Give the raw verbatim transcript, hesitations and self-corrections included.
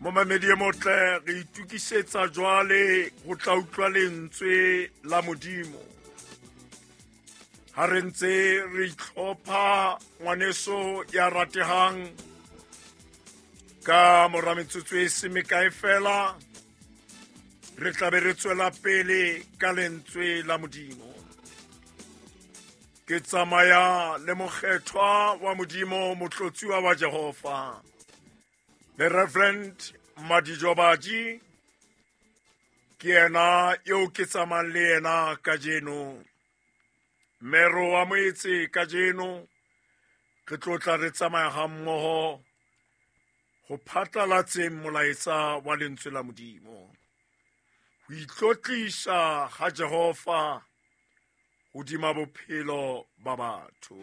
Momamedi e motle, re itukisetsa jwale ho tla utlwa lentswe la Modimo. Ha re ntse re itlhopha, ngwaneso ya ratehang, ka mora metsotso e se mekae fela re tla be re tswela pele ka lentswe la Modimo. Ke tsamaya le mokgethwa wa Modimo, motlotsuwa wa Jehova, the Reverend Madijobaji. Ke yena eo ke tsamayang le yena kajeno. Mero wa moetse kajeno re tlo tla re tsamaya ha mmoho ho phatlalatseng molaetsa wa lentswe la Modimo. Ho itlotlisa ha Jehova hodima bophelo ba batho.